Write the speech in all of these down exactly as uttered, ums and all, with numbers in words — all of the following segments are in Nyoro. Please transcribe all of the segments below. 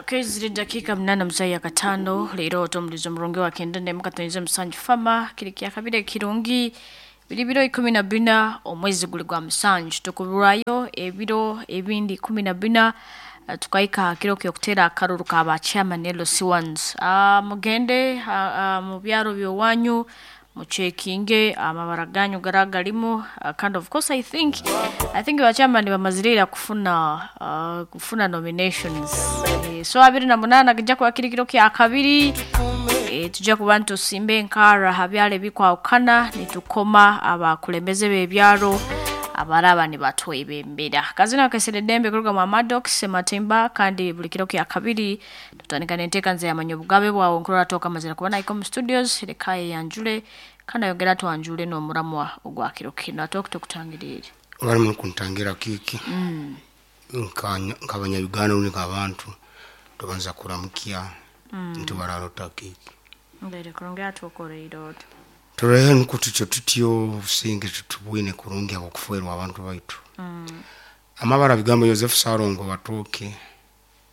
Ziri dakika mnana mzai ya katano leero otomulizo omurungi wa kenda mukatonyiza musanju fama kiri kya kabiri kirungi biri biro ikumi na bina omwezi guli gwa musanju tukuburwayo ebiro ebindi ikumi na bina uh, tukahika kiro kyokutera akaruru ka ba chairman L C ones. uh, mugende uh, uh, mu byaro byowanyu muchekinge amabara ganyu garagalimu uh, kind of course I think I think ba chairman bamazirira kufuna uh, kufuna nominations e, so abiri na munana kijja kuba kiri kiro kya kabiri e, tujja kuba ntusimbe enkara habyale bikwawukana nitukoma abakulembeze b'ebyalo abaraba nibatwebembera. Kazina kesere dembe kuruga mu Maddox Matimba kandi buli kiro kya kabiri tutandika n'enteeka nze yamanyi obugabe bwawe nkurora toka mazira kuba naiko mu studios lekaye yanjule kandi ayongera twanjule n'omuramwa ogwa kiro kino ate okutokutangirire bali mu kuntangira kiki mm. Nka Uganda uni abantu tubanza kuramukia mm. Nti bararota kiki mbere kurongera tukoreiro turehe nkutucho tutyo businge tutubwine kurungi abakuferwa abantu baitu mm. Amabara bigambo Joseph Sarongo watoke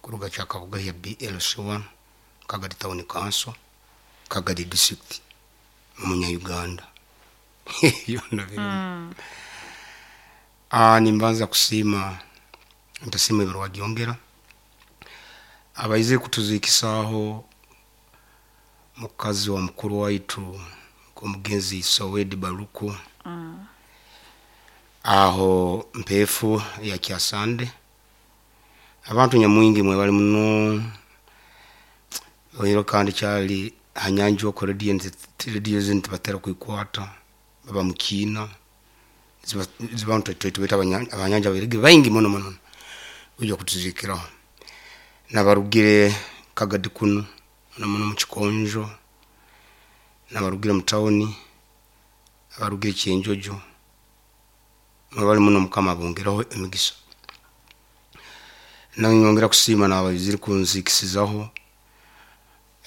kuruga kyakabuga ya B L C one Kagadi Town Council Kagadi District munya Uganda yona biri mm. Ah nimbanza kusima ntasima ibirwa gyongera abaize kutuzikisaho mukazi wa mukuru waitu omugenzi Sowedi Baruku mm. Aho mpefu ya kyasande abantu nyamwingi mwe bali muno oiro kandi kyali hanyanjo ko radio radio zinti batera kuikwata baba mukina zibantu twetweta abanyanja berege baingi muno muno ujo kutuzikira nabarugire Kagadi kuno muno muno mu Kikonjo nabarugire mu tawuni abarugire Kyenjojo mwebali muno mukama bongeraho emigisa nanyongera kusima n'abayiziri kunzikisizaho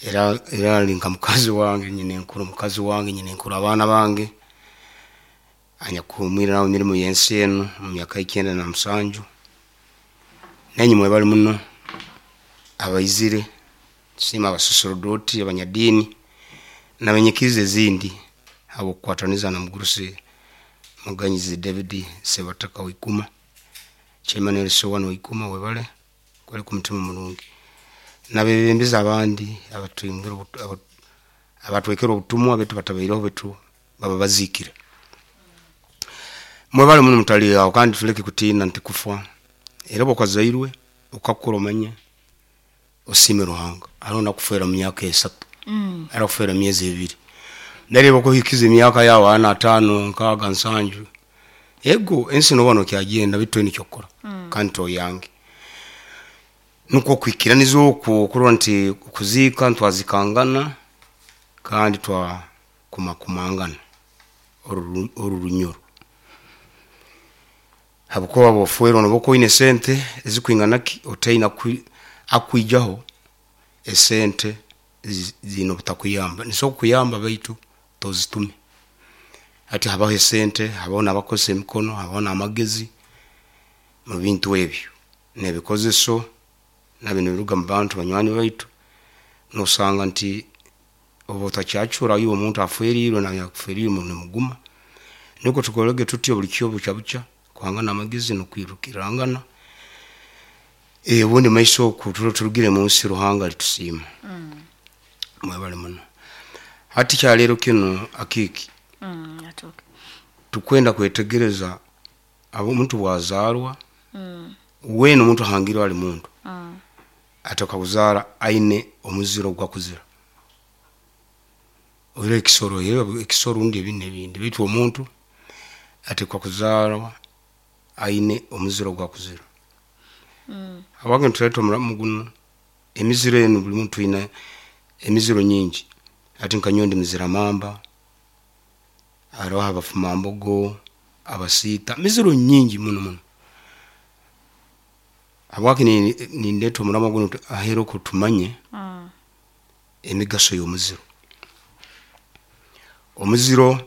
era era linka mukazi wange nyine nkuru mukazi wange nyine nkuru abaana bange anyakumwira nawe mirimu yensi eno mu myaka icyenda na musanju nenyi mwebali muno abayizire sima abasoserdoti abanyadini namenyekirize zindi abo kwataniza na mugurusi Muganyizi David Sebataka Wikuma Chairman L C one Wikuma webale kwali ku mutima mulungi nabebembeza abandi abatwingira abatwekera obutumwa betu batabaireho betu baba bazikire mwebale muno mutali awo kandi tuleke kutina nti kufa era bwakazairwe ukakura omanye osime Ruhanga arona kufera mu myaka esatu mm. Ara kufera myezi ebiri nari bakuhikiza emyaka yawo ana atano nkaga nsanju ego ensi no bano kyagenda bitwe nikyokora mm. Kandi toyange nuko kwikiraniza okwo kurwa nti kuzika ntwazikangana kandi twa kumakumangana oru orurunyoro habuko bofuero no boko ine sente ezikwingana ki otaina akwijaho esente zino butakuyamba niso kuyamba baitu tozitume ati habaho esente habaho n'abakoze emikono habaho n'amagezi mu bintu ebyo n'ebikozeso nabino biruga mu bantu banywani baitu nosanga nti oba otakyacura iwe omuntu aferirwe nawe yakuferirwe mu muguma niko tukolege tutyo buli kyo bucha bucha kwangana amagezi nokwirukirangana eh ubundi maiso ku turugire mu nsi Ruhanga litusima mm. Mwebale muno hati kyalero kino akiki mm atoke tukwenda kwetegereza abo omuntu bwazarwa mm. Weno omuntu hangirwa ali muntu mm. Atoka kuzara aine omuziro gwa kuzira oire ekisoro yero ekisoro ndi ebindi ebindi bitu omuntu atekwa kuzarwa aine omuziro gwa kuzira mm. Abage ntuleta omulamu guno emiziro eno buli muntu ina emiziro nyingi ati nkanyondi mizira mamba aroha abafuma mbogo abasita miziro nyingi muno muno abwaki ni ni ndeto omulamu guno ahero kutumanye mm. Emigaso y'omuziro omuziro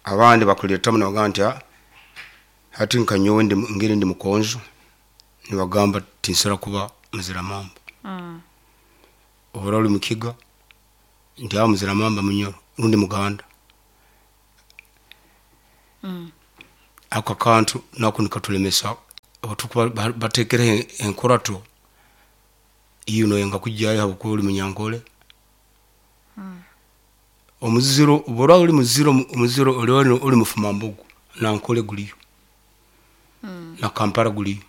abandi bakuleta muno bagamba nti hati nkanyowe ndi ngeri ndi mukonzo nibagamba tinsara kuba muzira mamba. Mm. Obora oli mukiga nti awo muzira mamba munyoro rundi muganda. Mm. Ako akantu nako nikatulemesa abatukuba batekereho enkorato iyo noyenga kujyayo habwokuba oli munyankole. Mm. Omuziro obora oli muziro omuziro oli oli mufumambogo nankole guliyo. Mm. Na Kampala guliyo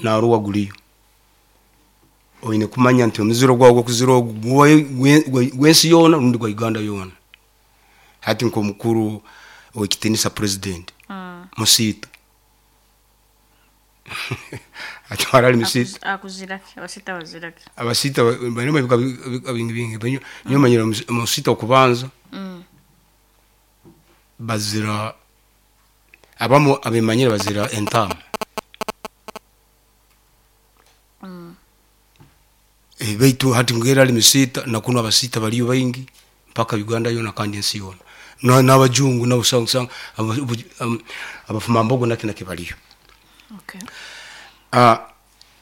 na Arua guliyo. Oine kumanya nti omuziro gwawe gwokuzira ogu gwensi yoona rundi gwa Uganda yoona. Hati nk'omukuru owekitinisa president Mm. Musiita atwara ali Musiita. Akuziraki abasita baziraki. Abasiita barimo ebika bingi bingi niyo manyira Musiita okubanza. Mm. Bazira abamu abemanyire bazira entaama. Mm. E, baitu hati ngera ali Musiita nakuno abasiita baliyo baingi mpaka Uganda yona kandi ensi yona n'abajungu nabo usanga abafumambogo naki naki baliyo. Okay. Ah,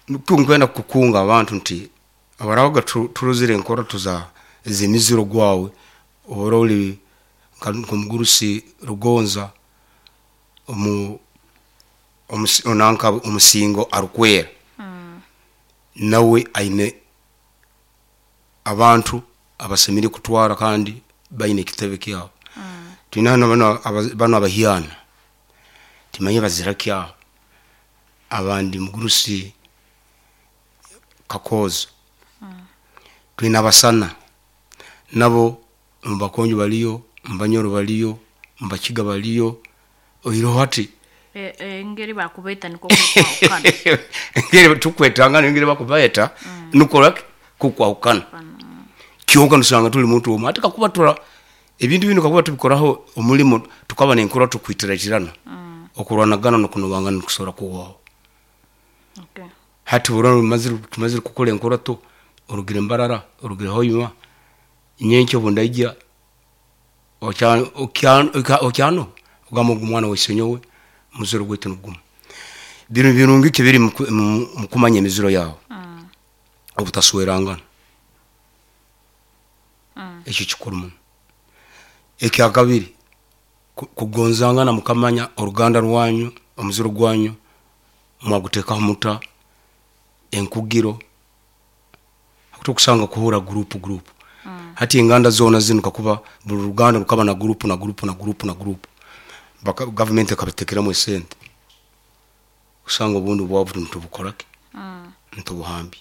nkwenda kukunga abantu nti abarabaga turozire enkora tuza zemiziro gwawe obora oli nkomugurusi Rugonza omu onanka omusingo arukwera. Mm. Nawe aine abantu abasemire kutwara kandi baine ekitebe kyabo. Mm. Twina hano bano bano abahiana timanye bazira kyabo abandi mugurusi Kakozo. Mm. Twina abasana nabo mubakonjo baliyo mbanyoro baliyo mbakiga baliyo oiroho hati engeri bakubeta niko kukwahukana. Engeri tukwetangana engeri bakubaeta Mm. nuko kukwahukana. Mm. Kyonka nusanga tuli muntu omwe ate kakuba tura ebintu bino kakuba tubikoraho omulimo tukaba nenkora tukwitiratirana. Mm. Okurwanagana nokunobangana kusobola kuwaho. Okay. Hati burano mazire tumazire kukora enkora to orugire Mbarara orugire Hoima nyenkyo bundaijja okyano okyano ogamba ogu mwana waisenyowe muziro gwaitu nigumu. Bino birungi kibiri mukumanya emiziro yawe. Mm. Obutaswerangana. Mm. Ekyo kikuru muno. Ekyakabiri kugonzangana mukamanya oruganda rwanyu omuziro gwanyu mwagutekaho muta enkugiro akutokusanga kuhura group group. Mm. Hati enganda zona zino kakuba buli ruganda rukaba na group na group na group na group baka government ekabitekeramu esente usanga obundi bwavu ntubukorake. Mm. Ntubuhambi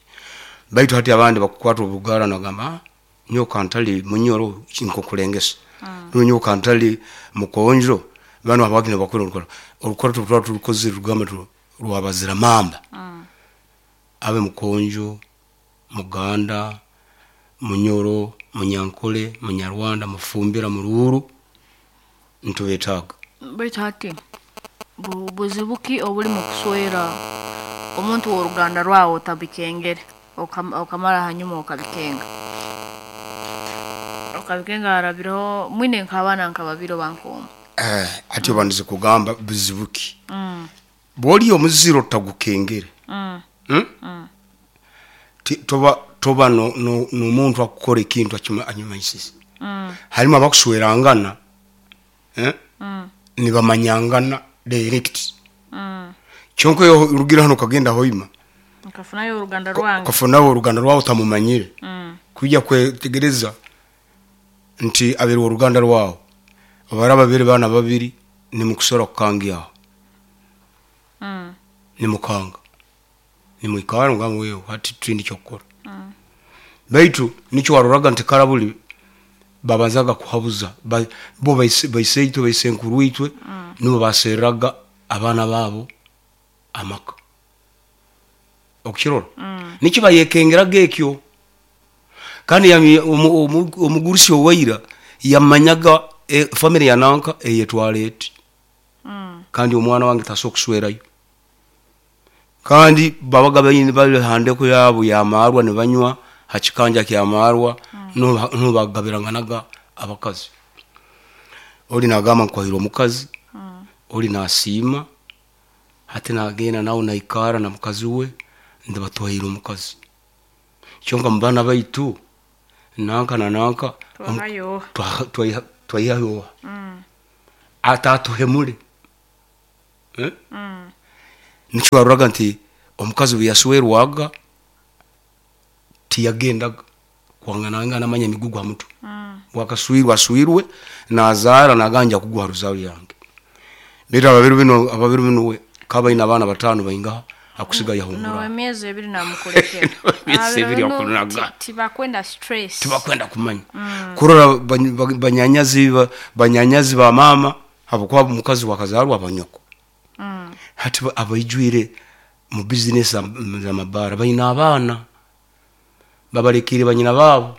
baitu hati abandi bakukwata obugara nagamba nyoka ntali munyoro nkokulengesa. Mm. Nyoka ntali mukonjo bano abagina bakora orukora orukora tutwa turukoze rugamba rwabazira mamba. Mm. Abe mukonjo muganda munyoro munyankole munyarwanda mufumbira muruuru ntubetaga. Baitu hati buzibuki obuli mu kuswera omuntu w'oruganda rwawe otabikengere okamara hanyuma okabikenga okabikenga harabireho mwine nk'abaana nka babiri oba nk'omu. Eh, ati obandize kugamba buzibuki. Mm. Bw'oli omuziro tagukengere. Mm. Mm? Mm. Toba toba no no n'omuntu akukora ekintu anyumaisise. Mm. Harimu abakuswerangana eh? Mm. Nibamanyangana direct. Mm. Kyonka orugira hano kagenda Hoima Ukafunayo oruganda rwange. Ukafunayo oruganda rwawe utamumanyire. Mm. Kujya kwetegereza nti abiri oruganda rwawe abaraba babiri bana babiri nimukusora kukangiaho. Mm. Nimukanga nimwikara ngamba wewe hati twindi kyokora. Mm. Baitu nicho waroraga nti karabuli babanzaga kuhabuza ba, bo baiseitwe baisenkuru itwe. Mm. Nibo baseraga abana babo amaka okukirora. Mm. Nicho bayekengeraga ekyo kandi omugurusi owaira yamanyaga e, family ya nanka eyetwala eti. Mm. Kandi omwana wange tasobola kuswerayo kandi babaga bayini bali handeko yabo yamarwa ne banywa hakikanja kyamarwa. Mm. No no bagabiranganaga abakazi oli nagamba nkwahira omukazi. Mm. Oli nasiima hati nagenda nawe naikara na mukazi we ndabatwahira omukazi. Kyonka mu baana baitu nanka na nanka Twahayo. twaihayoha atatuhemule. Eh? Nikyo waroraga nti omukazi bwe yaswerwaga tiyagendaga kwanganangana amanya emigugu ha mutwe. Bwakaswirwe aswirwe nazaara naganja kugwa ha ruzaaro yange. Baitu ababiru bino ababiru bino we kaba ina abaana batano baingaha akusiga No yahungura. Emyezi ebiri namukulekera. Emyezi ebiri Abiro bino akunaga. ti- tibakwenda stress. Tibakwenda kumanya kurora bany- ba- banyanyazi ba- banyanyazi ba mama habwokuba omukazi wakazarwa abanyoko. Hati ba- abaijwire mu bizinesi z'amabaara baina abaana babalekire banyina baabo.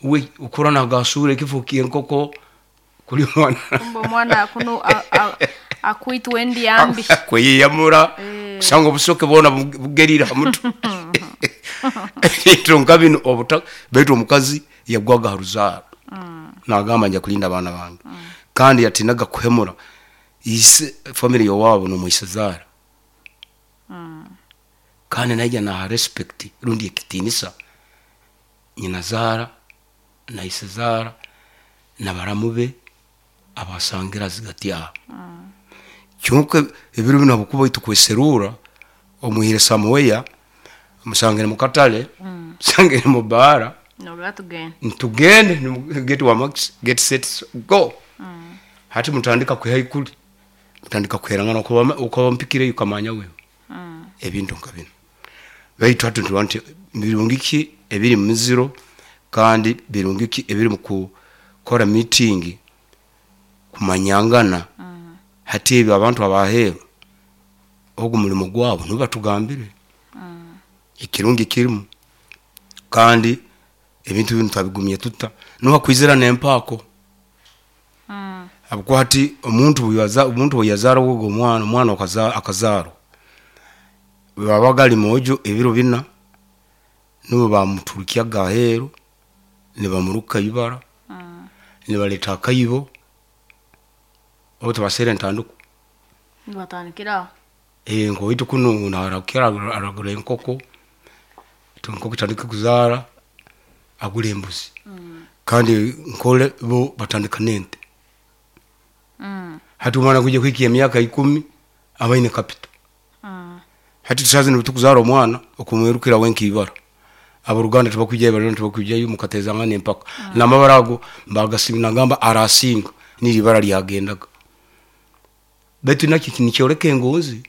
We ukura nagasura ekifo kyenkoko kuli omwana. Kumbe omwana kuno a- a- akwitwa endyambi. Kweyeyamura kusanga obusoke bwona bu- bugerire ha mutwe. Ebintu nka bino obuta baitu omukazi yagwaga ha ruzaaro nagamba nja kulinda abaana bange, kandi yatinaga kuhemura ise family yowaabo nomwisezaara, kandi naija naha respect rundi ekitinisa nyina zaara na isezaara na baramu be abasangira zigati aho. Kyonka ebiro bino habwokuba itwe kweserura omwihire samuweya musangire mukatale, musangire mu baara. Noga tugende. Ntugende nimu- get wa max get set go. Hati mutandika kwiha ikuli mutandika kuherangana ukaba mpikire ukamanya wewe ebintu nka bino. Baitu hati ntuba nti birungi ki ebiri mu miziro, kandi birungi ki ebiri mu kukora meeting kumanyangana. Hati ebyo abantu abaheeru ogu mulimo gwabo nibo batugambire ekirungi kirimu, kandi ebintu binu twabigumye tuta niwakwizira nempaako, habwokuba hati omuntu bweyaza omuntu bweyazaara ogu omwana omwana okaza- akazaarwa bwebabaga ali mwojo ebiro bina nibo bamuturukyaga aheeru nibamuruka ibara, nibaleta akaibo obu tibasera entandiko. Nibatandikiraho. Eh, nkowaitu kunu narakira aragura enkoko, enkoko etandika kuzaara agura embuzi, kandi nkole bo batandika nente. Hati omwana kwija kuhika emyaka ikumi aba aine capital. Hati tusaze nitukuzara omwana okumwirukira wenka ibara, aboruganda tibakwijayo, barona tibakwijayo, mukatezangana empaka namabara ago mbagasinga nagamba arasinga niri ibara lyagendaga. Baitu nakyo nikyoleka engonzi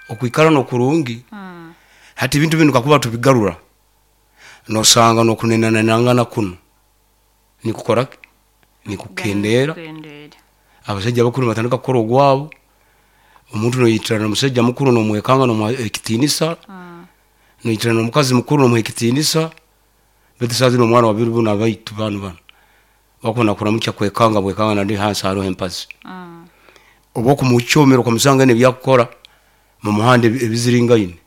okwikara nokurungi. Hati ebintu binu kakuba tubigarura nosanga nokunenanangana kuno nikukora ki? Nikukendeera. Kukendeera. Abasajja bakuru batandika kukora ogwabo, omuntu noyitirana omusajja mukuru nomwekanga nomuha ekitinisa, noyitirana omukazi mukuru nomuha ekitinisa. Baitu saa zino omwana wabiri buno abaitu banu bano bakuna kuramukya kwekanga bwekanga nandi hansi hariho empazi, oba okumukyomera okamusanga nebyakukora mu muhanda ebi- ebiziringaine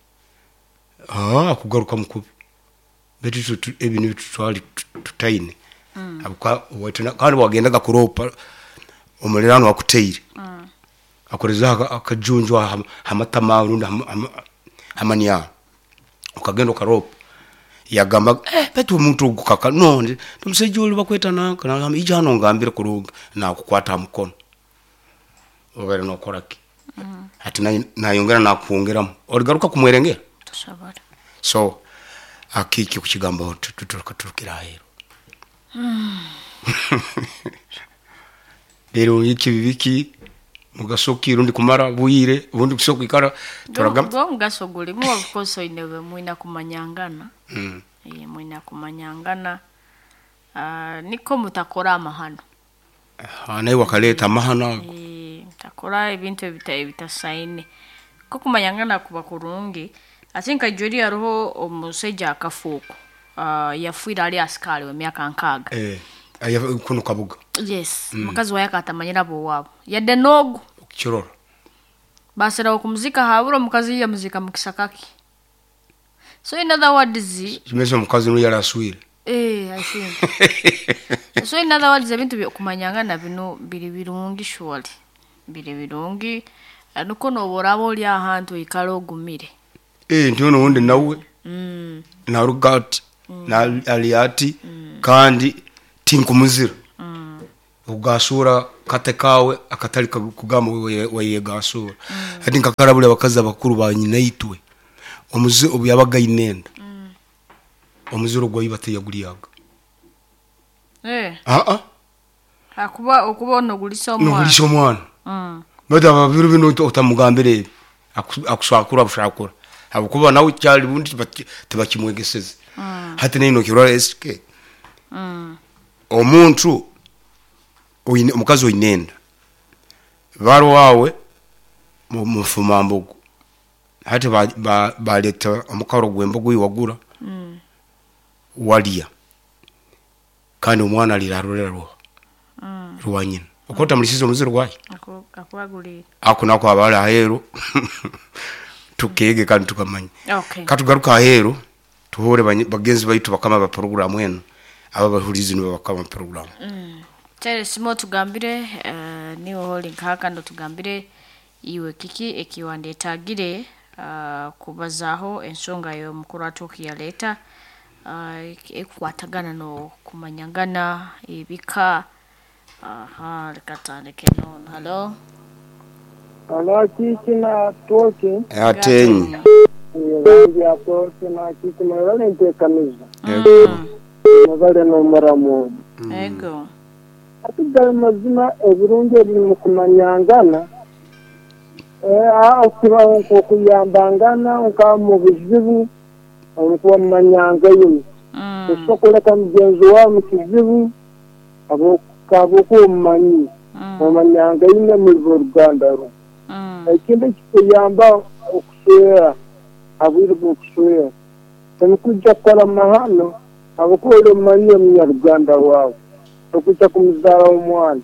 akugaruka mukubi. Baitu itwe tu- ebi nibyo tutwali tutaine. Habwokuba owaitu na- kandi wagendaga kuropa omulirano akuteire akorezaho aka- akajunju aha- hamatama rundi hama- hama- hamanyara, ukagenda ukaropa yagamba, eh, baitu omuntu ogu kaka no ndi omusajja oli bakweta nanka nagamba ija hano ngambire kurungi nakukwata ha mukono obaire nokora ki. Hati naye- nayongera nakwongeramu oligaruka kumwerengera. Tosobora. So akiki kukigambaho turukira aheeru rero iki bibiki mugaso ki rundi kumara bwire ubundi kusobola kwikara turagamba. Gwo omugaso gulimu, of course oine mwina kumanyangana. Mm. Eh, mwina kumanyangana. Ah, niko mutakora amahano. Ah, naye wakaleeta amahano ago. Eh, mutakora ebintu ebita ebitasaine ko kumanyangana kuba kurungi. Ate nka jori hariho omusajja akafuuko. Ah, yafiire ali asikali w'emyaka nkaaga. Eh, aya- kuno kabuga. Yes, mukazi waye akatamanyira bowaabo yadde n'ogu. Okukirora. Baserawo kumuzika habura omukazi yamuzika mu kisakaki. So in other words, Kimeze omukazi nuyo yali aswire. Eh, I think so. In other words, ebintu byokumanyangana bino biri birungi, surely biri birungi. Eh, nuko noba oraba ori ahantu oikara ogumire. Eh, nti ono wundi nawe Mm. Naruga ati na ali ati kandi tinkumuzira. Ugasura kate kawe akatali kugamba wayegasura. Hati nkakarabule abakazi abakuru ba nyina itwe. Omuzi obuyabaga inenda. Omuziro gwa bateyagulyaga. Eh. Ah ah. Akuba okuba onogulisa omwana. Nogulisa omwana. Mm. Bada babiru bino otamugambire akusakura bushakura. Habukuba nawe cyali bundi tibakimwegeseze. Mm. Hati nino kirora S K. Mm. Omuntu oyine omukazi oyinenda. Baro wawe mufuma mbogo. Hati ba baleta omukaro gwembogo iwagura. Mm. Walia. Kandi omwana alirarolera ruwa. Mm. Ruwa nyina. Okota mulisizo omuziro gwayi. Ako akwagulira. Ako nako abala ahero. Tukege kandi tukamanya. Okay. Katugaruka ahero tuhore bagenzi baitu bakama ba program eno. Aba bahulizi nibo bakama program. Mm. Tere simo tugambire uh, niwo holding haka ndo tugambire iwe kiki ekiwandetagire uh, kubazaho ensonga yo mukuru atuki yaleta uh, ekukwatagana no kumanyangana ebika. Aha, reka tandike nono. Hello. Hello, kiki na toki. Atenyi. Yangi atoki na kiki mwebale ntekaniza. Yego. Mwebale n'omuramu. Ego. Ati gali mazima ebirungi ebiri mu kumanyangana. Eh, okubaho nk'okuyambangana nka mu bizibu omukuba mumanyanga yino. Osobola mugenzi wawe mu kizibu abo omumanyi omanyanga yine muri Ruganda ro. Ekindi kikuyamba okuswera abwire bw'okuswera temukujja kukola mahano abakuba omumanyi omunyaruganda wawe okujja kumuzaala omwana.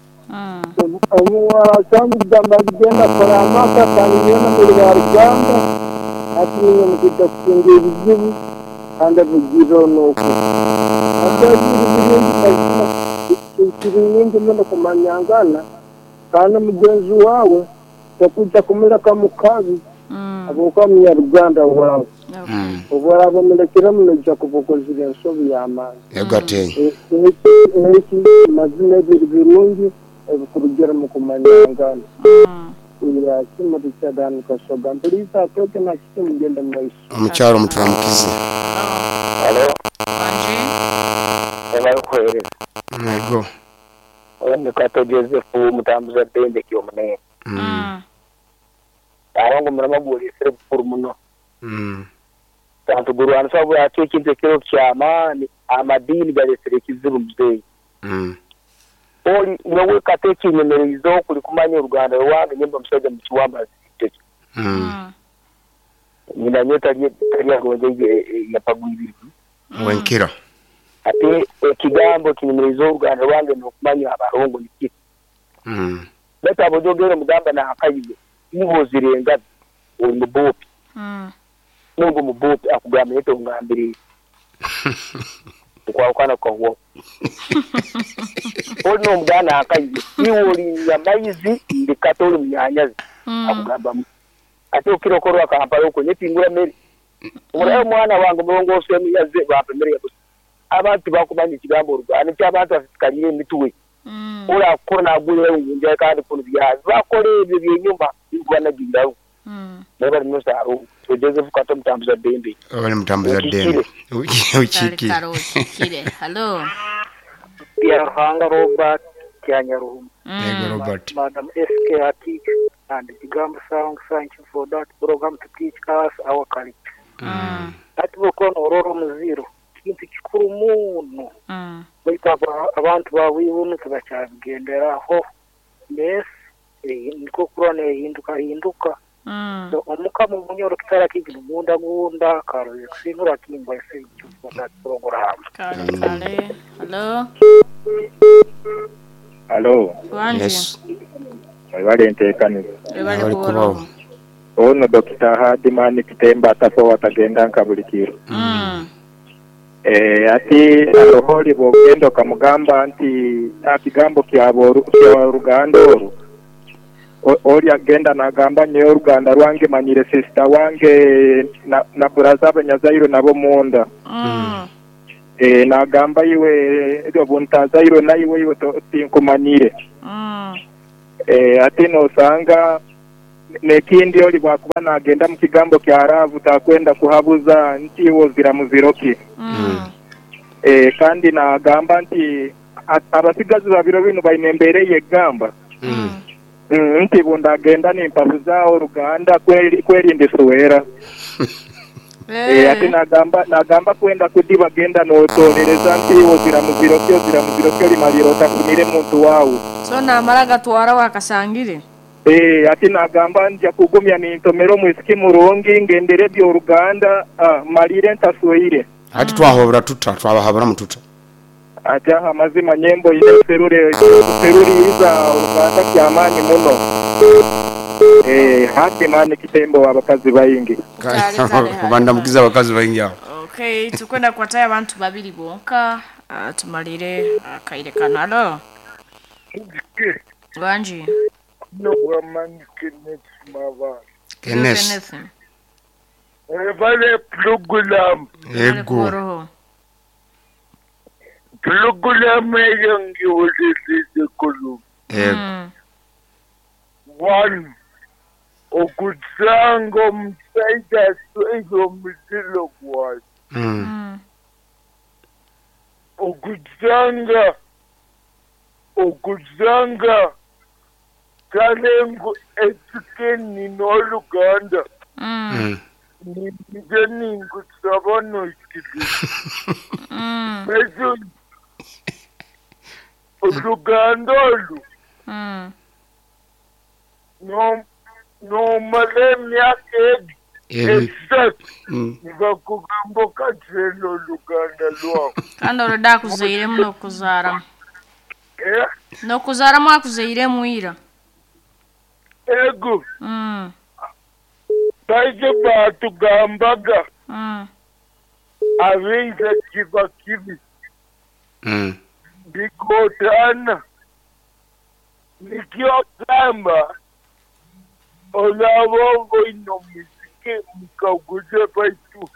Omuwala cyangwa kugamba agenda akora amaka kandi yona muri ba Ruganda ati niyo mukujja kutunga ebizibu kandi abugiro n'oku ate ebirungi muno kumanyangana kandi mugenzi wawe takujja kumuleka mu kabi abuka munyaruganda wawe. Obwaraba mulekera munojja kubukozira ensobi y'amaanyi. Yego atenyi. Eki mazima ebiri birungi ebikurugera mu kumanyangana. Ya kimu Richard Kasoga mpuliriza atoke na kiki mugende mu maiso. Omukyalo muturamukize. Hello. Wanje. Ebakuhereza. Yego. Oyo Kato Joseph mutambuza ddembe ky'omunene. Mm. Arongo murama gulisire bukuru muno. Mm. Tantu gurwanisa bwaki ekintu ekiro ky'amaani amadiini galesire ekizibu muzeeyi. Mm. Oli nyowe kate ekinyemererizo okuli kumanya oruganda rwange nyimba omusajja mukiwamba ziteke. Mm. Nyina nyo tali tali agonje yapagwibiri. Wenkira. Ate ekigambo kinyemererizo oruganda rwange n'okumanya abarongo niki. Mm. Bata abojogera mugamba na akayiwe ibo zirenga oli mubopi. Mm. Nungu mubopi akugamba yeto ngambire. Okwawukana kwawo. Oli n'omuganda akayiwe iwe oli yamaizi ndi katoli munyanyazi. Akugamba ate okiro Kampala okwo nyetingura mmere. Omulayo omwana wange mulongoosi emiyaze bampa emmere ya busa. Abantu bakumanya ekigambo oruganda ky'abantu basikalire emitwe. Ora akora nagulira ngunja kandi kuno byazi bakora ebyo byenyuma bikubanagirawo. Naye bali musaro Joseph Kato mutambuza ddembe. Bali mutambuza ddembe. Ukikire. Kale ukikire. Hello. Byaruhanga Robert Kyanyaruhuma. Yego Robert. Madam S K Ati and Kigambo Sound, thank you for that program to teach us our culture. Mm. Ati bokono ororo muziro kintu kikuru muno. Mm. Baitu abantu bawibuno tibakyabigenderaho. Yes, niko kurona ehinduka hinduka. Mm. So omukama omunyoro kitara kigira omunda gunda karoze kusinura kingwa ese for that program. Kale kale. Hello. Hello. Wanje. Yes. Webale nteekaniza. Webale Webale kubaho. kubaho. Ono Dokita Hadimani Kitemba atafa watagenda nka buli kiro. Mm. Eh, ati aroholi bwogenda okamugamba nti akigambo kya ruganda orwo Oli agenda nagamba nyowe oruganda rwange manyire sister wange na, na buraza abanyazairwe nabo munda. Mm. Eh, nagamba iwe obuntazairwe naiwe iwe tinkumanyire. Mm. Eh, ate nosanga nekindi oli bwakuba nagenda mu kigambo kya ravu takwenda kuhabuza nti iwe ozira muziroki. Mm. Eh, kandi nagamba nti abasigazi babiro bino baine embere yegamba. Mm. Mm, nti bundagenda nimpabuza oruganda kweri kwerinde suwera. Eh, ate nagamba nagamba kwenda kudiba genda notolereza nti ozira muziroki ozira muziroki olimaliro otafunire muntu wawe. So namara gatwara wakasangire. Eh, ate nagamba nja kugumya nintomero mwisiki murungi ngendere byoruganda ah, malire ntaswire. Ati twahobora tuta twabahabura mututa. Ati aha mazima nyembo ine serure seruriza oruganda kyamani muno. Eh, hati mani kitembo abakazi bayingi. Kubanda mukiza abakazi bayingi aho. Okay, tukwenda kwataya abantu babiri bonka uh, tumalire akaire uh, kano. Alo. Wanji. No wamani Kenneth Mava. Kenneth. Evale program. Ego. Program yangi olisize kulu. Ego. One. Okutsanga omusajja asweze omuziro gwawe. Mm. Okutsanga okutsanga kalengo etukeni n'oluganda. Mm. Ninje ninkusaba noikiri. Mm. Ejo oluganda olu. Mm. No no male myaka esatu nibakugamba okakyela oluganda lwawe. Kandi olwedde akuzairemu n'okuzaaramu. Eh? N'okuzaaramu akuzairemu ira. Ego. Mm. Baije batugambaga. Mm. Abiza kiba kibi. Mm. Bikotana. Nikyo gamba olabongo ino muziki mukaguze baitu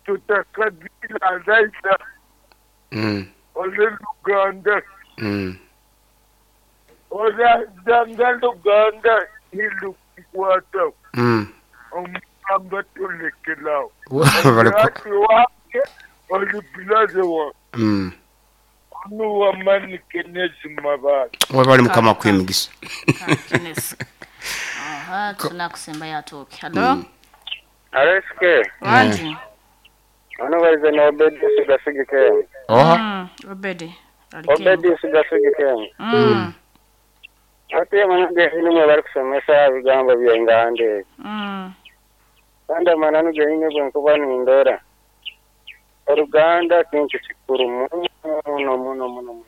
tutakagila raisa. Mm. Ole Luganda. Mm. Ole zanga Luganda ilukwata. Mm. Omugamba tulekelawo. Bali wake oli wa. Mm. Ono wamani Kenneth Mabala. Wabali mukama kwemigisa. Kenneth. Aha, tunakusemba yatoke. Hello. Mm. Aleske. Wanji. Ono waize na Obedi sigasigike. Oha. Mm, Obedi. Obedi sigasigike. Mm. Ate manage inu bari kusomesa bigambo byengande. Mm. Kandi amananu geine bwenkuba nindora. Oruganda kintu kikuru muno muno muno.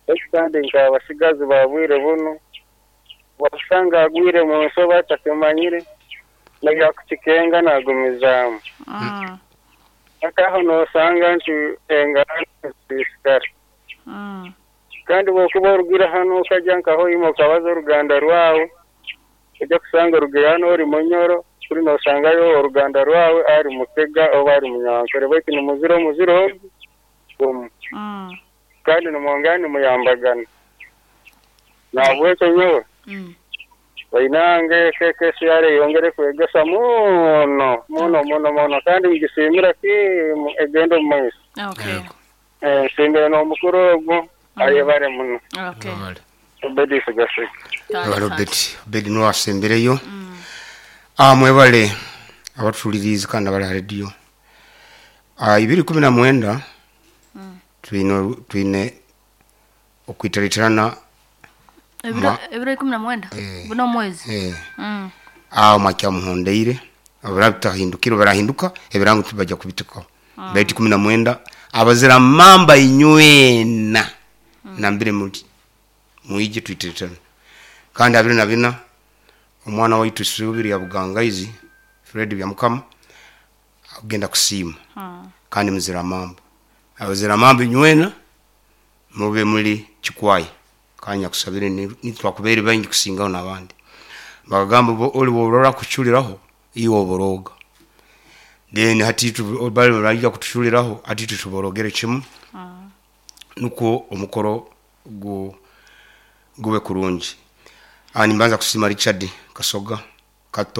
Ekandi nkabasigazi babwire buno. Wasanga agwire mu nsoba atakimanyire nayakukikenga nagumizamu. Mm. Akaho nosanga nti enganda zisigara. Mm. Kandi bwokuba orugira hano okajja nkaho imo okabaza oruganda rwawe ojja kusanga orugira hano ori munyoro kuri nosangayo oruganda rwawe ari mutega oba ari munyankore baitu ni muziro muziro gumu. Mm. Kandi nimwongera nimuyambagana nabwekyo nyowe. Mm. Bainange keke siyare yongere kwegesa muno muno muno muno kandi ngisimira ki egendo mu maiso. Okay. Eh, nsimbire n'omukuru ogwo ayebare muno. Okay. Obedi sigasika. Wabali Obedi. Obedi niwe asembereyo. Ah, mwebale abatuliriza kandi abali ha radio. Ah, ibiri kumi na mwenda twine twine okwitaritirana Ebiro ebiro ikumi na mwenda. Eh. Buno mwezi. Eh. Mm. Aho makya muhondeire abarabitahindukira barahinduka ebirango tubajja kubitukaho. Mm. Beti kumi na mwenda abazira mamba inywena. Mm. Nambire muti muije twiteretana. Kandi abiri na bina omwana waitu Subiri ya Bugangaizi Fred Byamukama agenda kusiima. Mm. Kandi muzira mamba. Abazira mamba inywena mube muri Kikwai. Kanya kusabire nitwakubeere baingi kusingaho n'abandi. Bakagamba bo- oli bworora kuculiraho iwe oboroga. Then hati tu- bali barija kutuculiraho, hati tutuborogere kimu nukwo omukoro gu gube kurungi. Ah, nimbanza kusima Richard Kasoga Kato.